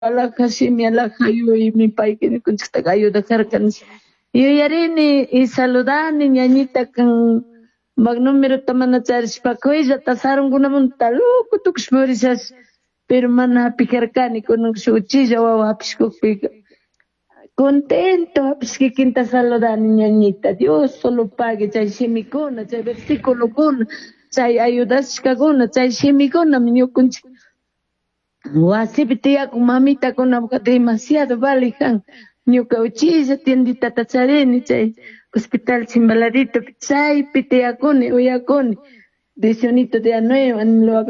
Alhaja shimi, alhaja yuyaymi payka ñukanchikta ayudajarka nish. Yuyarini y saludani ñañita kan numerota mana charishpa kuyllata sarunkunamanta loco tukushpa purishash, pero mana hapijarkani. Kunan shuk uchilla wawa hapishkukpika contento hapish kikinta saludani ñañita. Dios solo pague chay shimikuna, chay versiculokuna, chay ayudashkakuna, chay shimikunami ñukanchik wasipi tiyakun mamitakunapaka demasiado valijan. Ñuka uchilla tienditata charini chay hospital Chimbaladitopi, chaypi tiyakuni, uyakuni. Dicionito de nueva, lo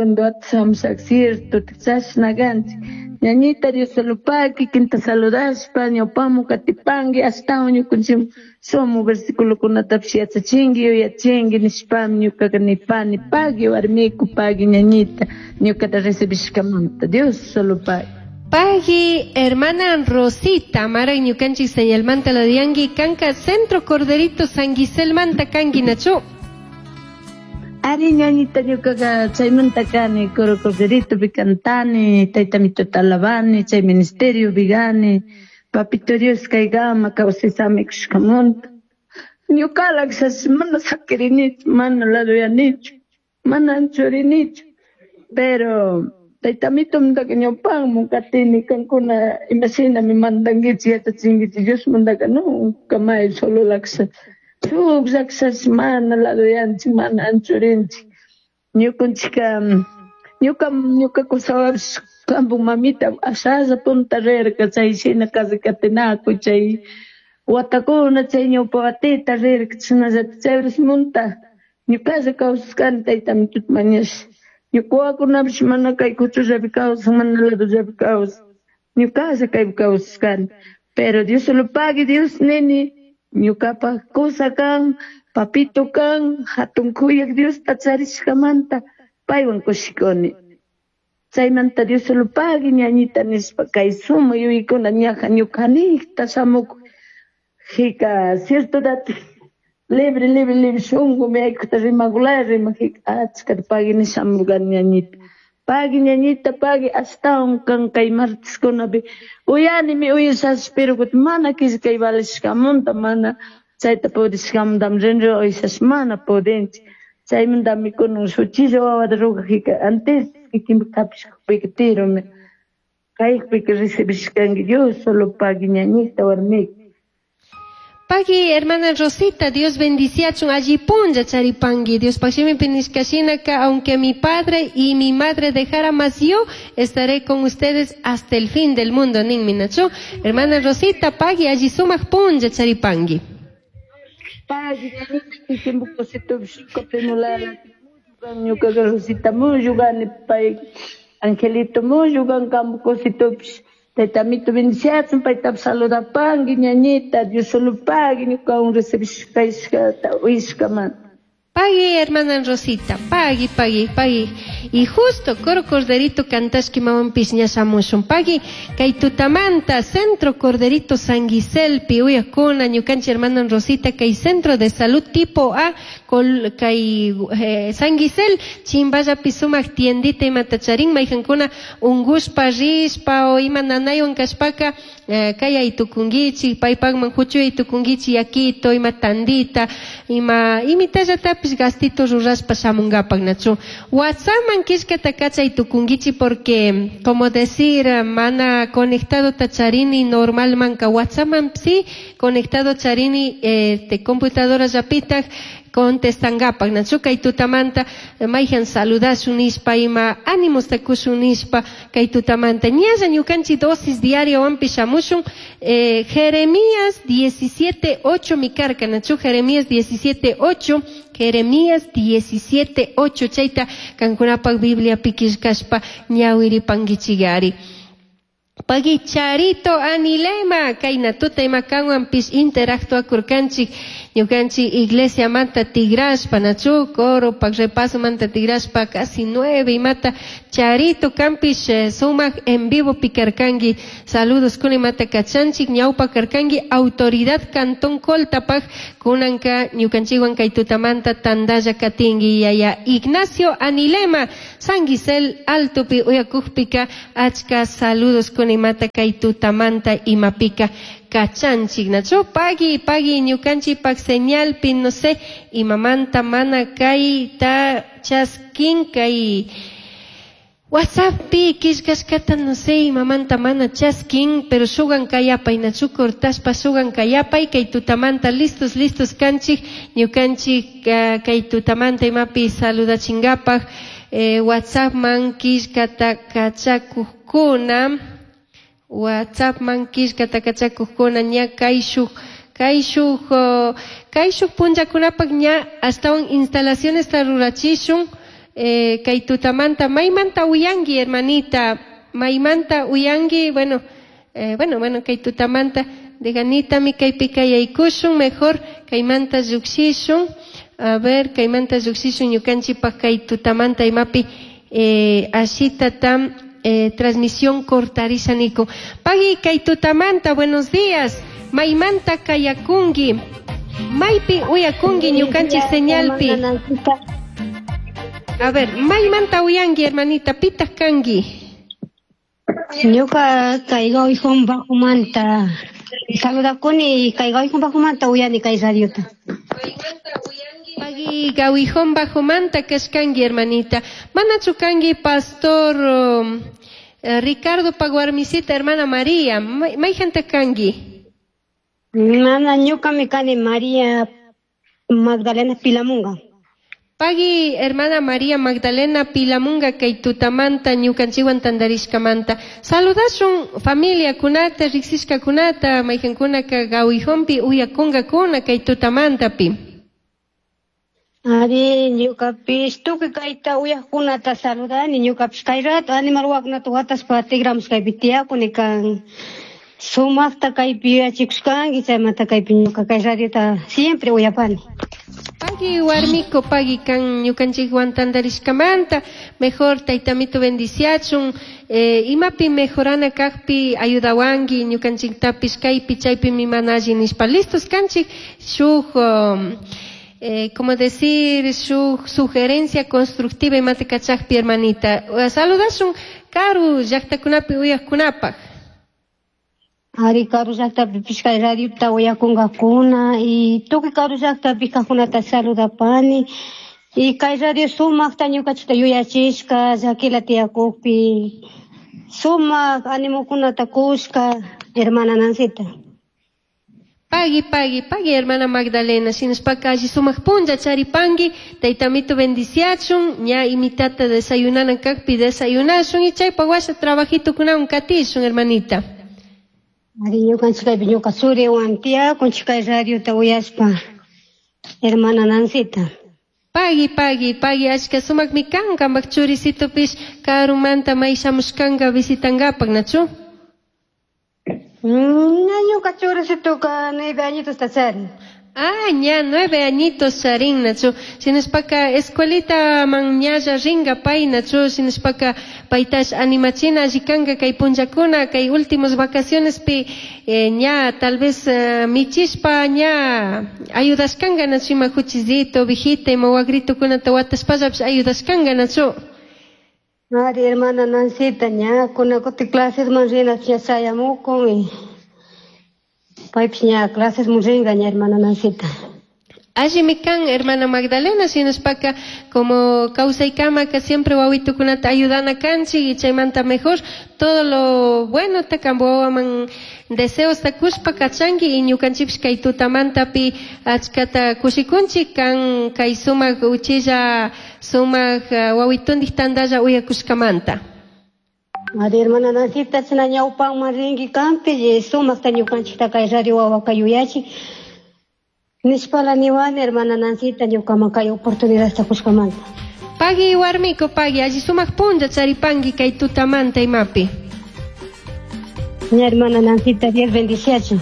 cierto, chashna kanchik. Ñañita Dios solo pague, kikinta saludashpa, ñawpamu katipanki, ashtawan ñukanchik sumu versiculokunatapish yachachinki, yuyachinki nishpami ñukaka nipani, pagui warmiku, pagui ñañita, ñukata recibishkamanta. Dios solo pague. Pagui, hermana Rosita, mara ñukanchik señalmanta la diangui, kanka Centro Corderito San Giselmanta kanki nachu. Ari ñañita ñukaqa chaymanta kani, Coro Corderito cantani, tayta mituta alabani, chay ministerio vigani, papito Dios kaykama kawsasami kushkamunta. Ñukalak mana sakirinichu, mana laduyanichu, mana anchurinichu, pero tayta mitumtaka ñawpanman katini kankuna imashinami mandankichik yachachinkichik Diosmantaka no kamay solo laksa. Shuk llakshash mana laduyanchik, mana anchurinchik. Ñukanchika ñuka ñuka kusawapish kampu mamita ashalla punta rirka chay shina kasi katinakuy chay watakuna chay ñawpa watita rirka chashnallata chay munta ñukalla kawsashkani tayta mituta mañash. Ñuka wawakunapish mana kay kuchullapi kawsan, mana ladullapi kawsan. Ñukalla kaypi kawsashkani. Pero Dios solo pague, Dios nini. Ñukapaj kusa kan, papito kan, hatun kuyak Diosta charishkamanta paywan kushikuni. Chaymanta Dios solo pague ñañita nishpa kay suma yuyaykuna ñaja ñukanikta shamuk jika cierto dati libre libre libre shunku aykuta rimakulaya rimak jika achkata pagui nish shamurkani ñañita. Pagui ñañita pagui ashtawan kan kay marteskunapi uyanimi uyashash pero kutin mana killkay valishkamanta mana chayta pudishkamantami rinrin uyashash mana pudinchik. Chaymantami kunan shuchilla wawata rugajika antes kikinpak hapishkakpika tirumi kaypika recibishkanki Dios solo pagui ñañita warmika. Pagui, hermana Rosita, Dios bendiciachun allí punlla charipangui. Dios pashimi pinishkashinaka, aunque mi padre y mi madre dejara, más yo estaré con ustedes hasta el fin del mundo. Nin minachu. Hermana Rosita, pagui, allí sumaq punlla charipangui. Pagui, ñañita, cosito, ñukaqa Rosita muyugani pay Angelito muyugan kampu cositopish. Tayta mito bendiciachun, paytapish saludapanki ñañita, Dios solo pagui, ñukawan recibishkashkata uyashkamanta. Pagui, hermana Rosita, pagui, pagui, pagui. Y justo, Coro Corderito cantashki mamanpish ña shamushun. Pagui, kay tutamanta, Centro Corderito San Giselpi, uyakuna, ñukanchik hermana Rosita, kay Centro de Salud tipo A, kol, kay San Gisel, chimballapi sumak tiendita imatacharin, mayjankuna ungushpa, rishpa, o ima nanaywan kashpaka, kay aytukunkichik, paypakman huchuy aytukunkichik, yakito, ima tandita, ima imitallatapis gastito rurashpa shamunkapak nachu. WhatsAppman killkata kachay tukunkichik porque, como decir, mana conectado tacharini normalmanka WhatsAppman sí, conectado charini este, computadora llapitaj contestangapak nachu kay tutamanta mayjan saludashun nishpa ima ánimos takushun nishpa kay tutamanta ñalla ñukanchik dosis diario wanpi shamushun Jeremías 17:8 mi karka nachu Jeremías 17:8 Jeremías 17:8 chayta kankunapak Biblia pikishkashpa ñawiripankichigari. Pagui Charito Anilema, kayna tuta ima kanwanpish interactuakurkanchik ñukanchik iglesia manta tigrashpa nachu coro pak repaso manta tigrashpa casi 9 imata Charito kampish sumak en vivo pikarkanki saludos kuna imata kachanchik ñawpa karkanki autoridad cantón Coltapak kunanka ñukanchikwan kay tutamanta tandalla katinki yaya Ignacio Anilema. San Gisel Altopi uyakukpika achka saludos kunimata kay tutamanta imapika kachanchik nachu pagui pagui ñukanchikpak señalpi no sé imamanta mana kayta chaskin kay WhatsApppi killkashkata no sé imamanta mana chaskin pero shugan kayapay nachu cortashpa shugan kayapay kay tutamanta listos listos kanchik ñukanchik kay tutamanta imapi saludachingapak WhatsAppman killkata kachakukkuna WhatsAppman killkata kachakukkuna ña kayshuk kayshuk kayshuk punllakunapak ña ashtawan instalacionesta rurachishun. Kay tutamanta maymanta uyanki hermanita maymanta uyanki bueno bueno bueno kay tutamanta deganitami kaypi kayaykushun mejor kaymanta lluqshishun a ver kaymanta lluqshishun ñukanchikpak kay tutamanta imapi ashitata transmisión cortarisha nikun pagui kay tutamanta buenos días maymanta kayakunki maypi uyakunki ñukanchik señalpi. A ver, maymanta uyanki, hermanita, pitaq kanki? Ñuka kay Gawihun Bajomanta saludakuni kay Gawihun Bajomanta uyani kay radiota. Pagui Gawihun Bajomanta kashkanki, hermanita. Manachu kanki pastor Ricardo Paguarmisita, hermana María. Mayjanta kanki? Mana ñukami kani María Magdalena Pilamunga. Pagui hermana María Magdalena Pilamunga kay tutamanta ñukanchikwan tantarishkamanta. Saludashun familia kunata, riqsishkakunata, mayqankunaka Gawihunpi uyakunkakuna kay tutamantapi. Ari ñukapish tukuy kayta uyaqkunata saludani ñukapish kay rato animal wawakunata wataspa tigramush kaypi tiyakuni kan sumaqta kaypi yuyachikushkanki chaymanta kaypi ñuka kay radiota siempre uyapani. Pagui warmiko pagui kan ñukanchikwan tantarishkamanta mejor taytamito bendiciachun imapi mejorana kaqpi ayudawanki ñukanchiktapish kaypi chaypimi mana alli nishpa listos kanchik shuk como decir shuk sugerencia constructiva imata kachaqpi hermanita saludashun karu llaqtakunapi uyaqkunapaq. Ari karu llaqtapipish kay radiota uyakunkakuna y tukuy karu llaqtapi kaqkunata saludapani y kay radio sumaqta ñukanchikta yuyachishka llakila tiyakukpi sumaq animokunata kushka hermana Nancita. Pagui, pagui, pagui, hermana Magdalena. Shinashpaka alli sumaq punlla charipanki, taytamito bendiciachun, ña imitata desayunana kaqpi desayunashun y chaypa washa trabajitukunawan katishun, hermanita. Ari ñukanchik kaypi ñuka churiwan tiyakunchik kay radiota uyashpa, hermana Nancita. Pagui, pagui, pagui, achka sumaqmi kan, qampak churisitupish karumanta may shamushkanka visitankapak, nachu? Ñuka churisituka 9 añitos ta charin. Ah, ña 9 añitos charin, nachu. Shinashpaka escuelita man ñalla ringa pay, nachu. Shinashpaka paytash animachina alli kanka kay punllakuna, kay últimos vacaciones pi ña tal vez michishpa ña ayudashkanka, nachu, ima juchisito, ovejita, ima wagritukunata watashpallapish ayudashkanka, nachu. Ari, hermana Nancita, ña kunakuti clases man rina ña chayamukun y paypish ña clases man ringa ña hermana Nancita. Allimi kan, hermana Magdalena, shinashpaka como kawsaykamaka siempre wawitukunata ayudana kanchik y chaymanta mejor todo lo bueno ta kampa wawaman deseos ta kushpa kachanki y ñukanchikpish kay tutamantapi achkata kushikunchik kan kay sumaq uchilla sumaq wawitundik tantalla uyakushkamanta. Ari, hermana Nancita, china ñawpanman rinki kanpi y sumaqta ñukanchikta kay radio wawaka yuyachin. Nishpala niwani, hermana Nancita, ñukaman kay oportunidadta kushkamanta. Pagui warmiko, pagui, alli sumaq punlla charipanki kay tutamanta imapi. Mi hermana Nancita, Dios bendiciachun.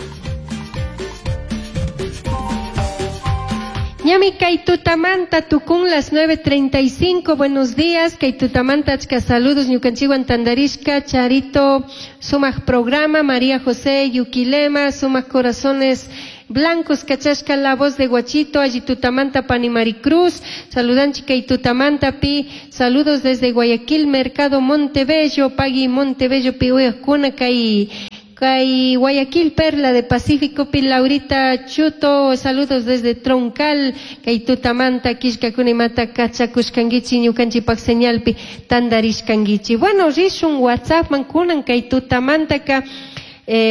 Ñami kay tutamanta tukun las 9:35, buenos días, kay tutamanta achka saludos ñukanchikwan tandarishka, Charito, sumaq programa, María José Yuquilema, sumaq corazones. Blancos kachashka La Voz de Guachito, alli tutamanta pani Maricruz, saludanchik kay tutamanta pi, saludos desde Guayaquil, Mercado Montebello, pagui Montebello pi uyajkuna kay kay Guayaquil, Perla de Pacífico pi Laurita Chuto, saludos desde Troncal, kay tutamanta killkakuna imata kachakushkankichik ñukanchikpak señalpi tandarishkankichik. Bueno, rishun WhatsAppman kunan kay tutamantaka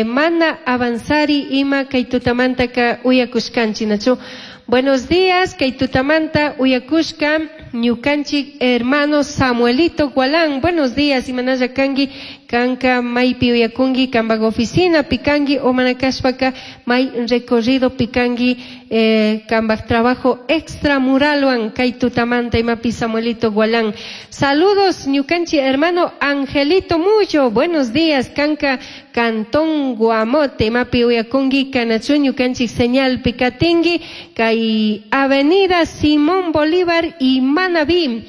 mana avanzari ima kay tutamantaka uyakushkanchik, nachu? Buenos días, kay tutamanta uyakushka ñukanchik hermano Samuelito Gualán. Buenos días, imanalla kanki, kanka maypi uyakunki, kambak oficina pikanki o manakashpaka may recorrido pikanki, kambak trabajo extramuralwan kay tutamanta imapi Samuelito Gualán. Saludos ñukanchik hermano Angelito Muyo. Buenos días, kanka Cantón Guamote, imapi uyakunki, kanachu ñukanchik señal pikatinki, kay Avenida Simón Bolívar y Manabí.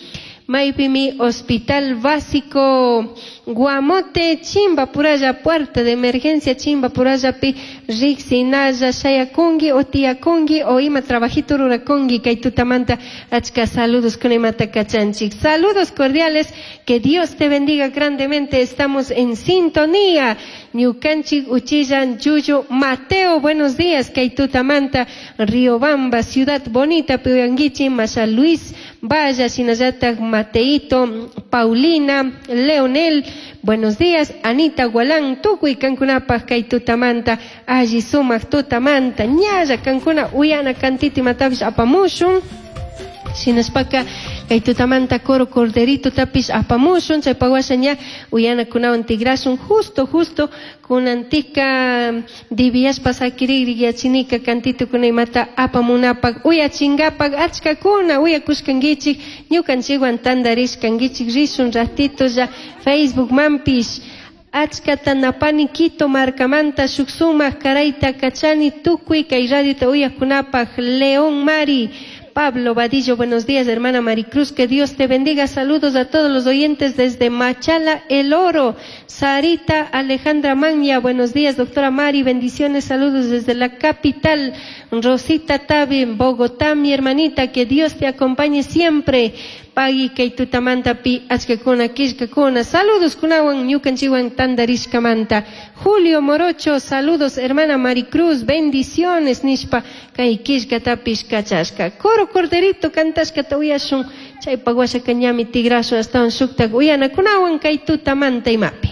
Maypimi Hospital Básico Guamote, Chimba Puraya, puerta de emergencia Chimba Puraya pi riksinalla shayakunki o tiyakunki o ima trabajito rurakunki kay tutamanta achka saludos con imata kachanchik. Saludos cordiales, que Dios te bendiga grandemente, estamos en sintonía. Ñukanchik Uchillan Yuyo Mateo, buenos días, kay tutamanta Riobamba, Ciudad Bonita, Piuyanguichi, Masha Luis Vaya, Shinayata, Mateito, Paulina, Leonel, buenos días, Anita Gualán, tukuy kankunapaj kay tutamanta, alli sumak tutamanta, ñalla kankuna uyana kantiti matapish apamushun. Shinashpaka kay tutamanta coro corderito tapish apamushun, chay pawasha ña uyana kunawan tigrashun, justo, justo, kunantika diviashpa sakirigri yachinika kantito kuna imata apamunapak, uyachingapak, achkakuna uyakushkankichik, ñukanchikwan tandarishkankichik, rishun ratito ya Facebook manpish. Achkata napani Quito markamanta shuk sumak karayta kachani tukuy kay radiota uyakunapaj. León Mari, Pablo Vadillo, buenos días, hermana Maricruz, que Dios te bendiga. Saludos a todos los oyentes desde Machala, El Oro. Sarita Alejandra Maña, buenos días, doctora Mari, bendiciones, saludos desde la capital. Rosita Tabi, Bogotá, mi hermanita, que Dios te acompañe siempre. Pagui kay tutamanta pi achkakuna killkakuna. Saludos kunawan ñukanchikwan tandarishkamanta. Julio Morocho, saludos hermana Maricruz, bendiciones nishpa kay killkatapish kachashka. Coro Corderito kantashkata uyashun, chaypa washaka ñami tigrashun astawan shuktak uyanakunawan kay tutamanta imapi.